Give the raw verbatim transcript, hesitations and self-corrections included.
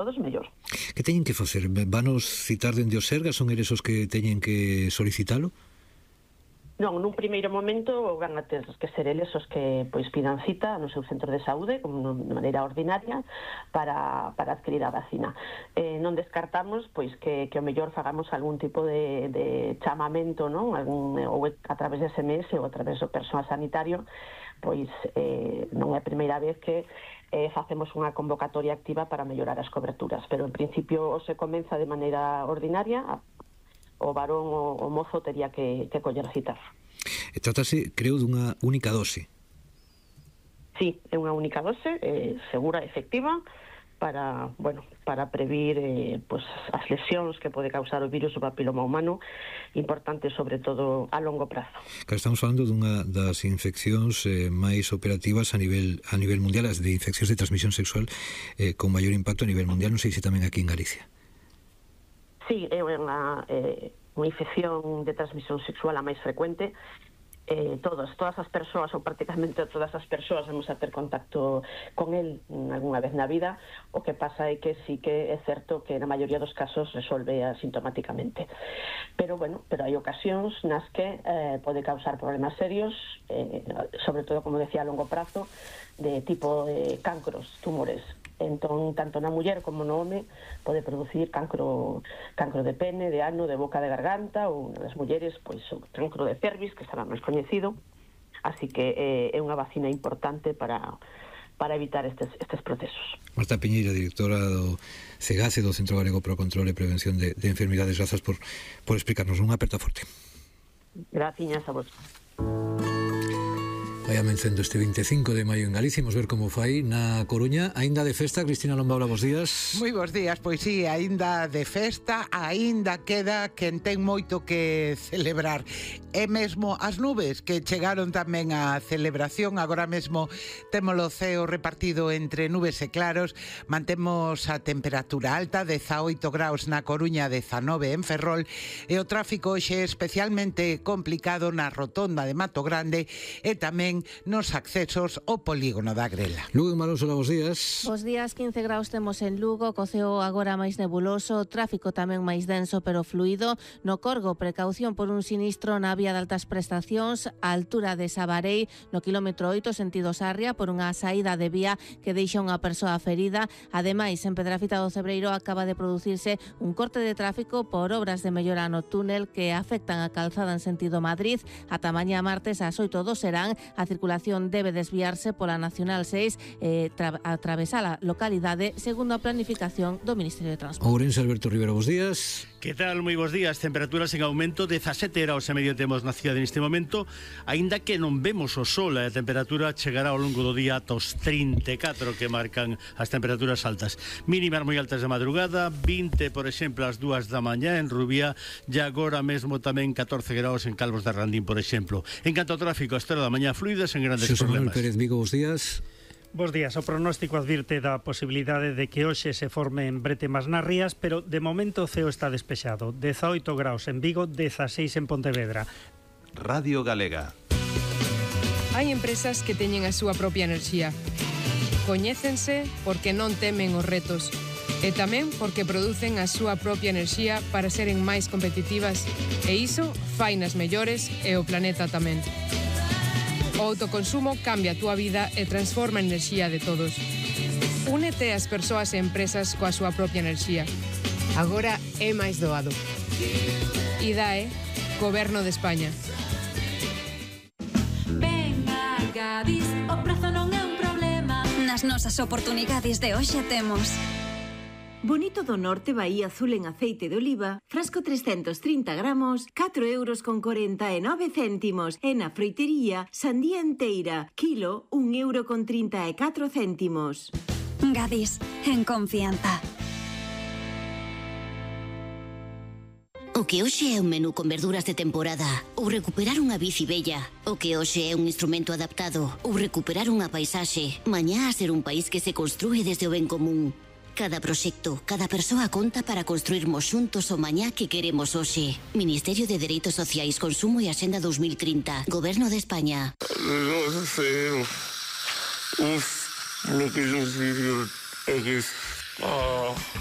todos, mellor. Que teñen que facer? Vanos citar dende o Sergas? Son eles os que teñen que solicitalo? Non, nun primeiro momento van a ter que ser eles os que pois pidan cita no seu centro de saúde como de maneira ordinaria para, para adquirir a vacina. Eh, non descartamos pois que, que o mellor fagamos algún tipo de, de chamamento, non? Algún, ou a través de S M S ou a través do persoal sanitario, pois eh, non é a primeira vez que eh, facemos unha convocatoria activa para mellorar as coberturas, pero en principio se comeza de maneira ordinaria. O varón o, o mozo tería que, que coller citar. E trátase, creo, dunha única dose. Sí, é unha única dose, eh, segura e efectiva, para, bueno, para previr eh, pues, as lesións que pode causar o virus do papiloma humano, importante sobre todo a longo prazo. Claro, estamos falando dunha das infeccións eh, máis operativas a nivel a nivel mundial, as de infeccións de transmisión sexual eh, con maior impacto a nivel mundial, non sei se tamén aquí en Galicia. Sí, é unha, eh, unha infección de transmisión sexual a máis frecuente. Eh, todas, todas as persoas, ou prácticamente todas as persoas, vamos a ter contacto con el algunha vez na vida. O que pasa é que sí que é certo que na maioría dos casos resolve asintomáticamente. Pero, bueno, pero hai ocasións nas que eh, pode causar problemas serios, eh, sobre todo, como decía, a longo prazo, de tipo de cancros, tumores. Entón, tanto na muller como no home pode producir cancro cancro de pene, de ano, de boca, de garganta, ou nas mulleres, pois, o cancro de cervix, que será máis coñecido. Así que eh, é unha vacina importante para para evitar estes, estes procesos. Marta Piñeira, directora do CEGACE, do Centro Galego para o Control e Prevención de, de Enfermidades. Grazas por, por explicarnos. Unha aperta forte. Gracias a vos. Vai amencendo este vinte e cinco de maio en Galicia. Imos ver como fai na Coruña. Aínda de festa, Cristina Lombaula, bos días. Moi bons días, pois sí, aínda de festa, aínda queda quen ten moito que celebrar. E mesmo as nubes que chegaron tamén á celebración. Agora mesmo temos o ceo repartido entre nubes e claros. Mantemos a temperatura alta, dezaoito graus na Coruña, dezanove en Ferrol, e o tráfico hoxe é especialmente complicado na rotonda de Mato Grande e tamén nos accesos ao polígono da Grela. Lugo en Malón, bos días. Bos días, quince graus temos en Lugo, co ceo agora máis nebuloso, tráfico tamén máis denso pero fluido. No Corgo, precaución por un sinistro na vía de altas prestacións, a altura de Sabarei, no quilómetro oito, sentido Sarria, por unha saída de vía que deixa unha persoa ferida. Ademais, en Pedrafita do Cebreiro acaba de producirse un corte de tráfico por obras de mellora no túnel que afectan a calzada en sentido Madrid. Ata mañá martes ás oito do serán, a circulación debe desviarse pola Nacional seis eh, tra atravesar a localidade segundo a planificación do Ministerio de Transporte. Ourense, Alberto Rivera, bos días. Que tal? Moi bons días. Temperaturas en aumento, dezasete graus e medio temos na cidade neste momento, aínda que non vemos o sol, a temperatura chegará ao longo do día ata os trinta e catro que marcan as temperaturas altas. Mínimas moi altas de madrugada, vinte, por exemplo, ás dúas da mañá en Rubía, e agora mesmo tamén catorce graus en Calvos de Randín, por exemplo. En canto ao tráfico, a hora da mañá fluida sen grandes Xosé problemas. Manuel Pérez Vigo, bos días. Bos días. O pronóstico advirte da posibilidade de que hoxe se formen bretemas nas rías, pero de momento o ceo está despexado. dezaoito graus en Vigo, dezaseis en Pontevedra. Radio Galega. Hai empresas que teñen a súa propia enerxía. Coñécense porque non temen os retos. E tamén porque producen a súa propia enerxía para seren máis competitivas. E iso fainas mellores e o planeta tamén. O autoconsumo cambia a túa vida e transforma a enerxía de todos. Únete ás persoas e empresas coa súa propia enerxía. Agora é máis doado. I D A E, Goberno de España. Ven a Gadis, o prazo non é un problema. Nas nosas oportunidades de hoxe temos Bonito do Norte Bahía Azul en aceite de oliva, frasco trescentos trinta gramos, catro euros con corenta e nove céntimos. E na froitería, sandía enteira, kilo, un euro con trinta e catro céntimos. Gadis, en confianza. O que hoxe é un menú con verduras de temporada, ou recuperar unha bici bella. O que hoxe é un instrumento adaptado, ou recuperar unha paisaxe. Mañá a ser un país que se construe desde o ben común. Cada proxecto, cada persoa conta para construirmos xuntos o mañá que queremos hoxe. Ministerio de Dereitos Sociais, Consumo e Axenda dos mil trinta. Goberno de España. Non sei. Uf, lo que non sei é que Oh.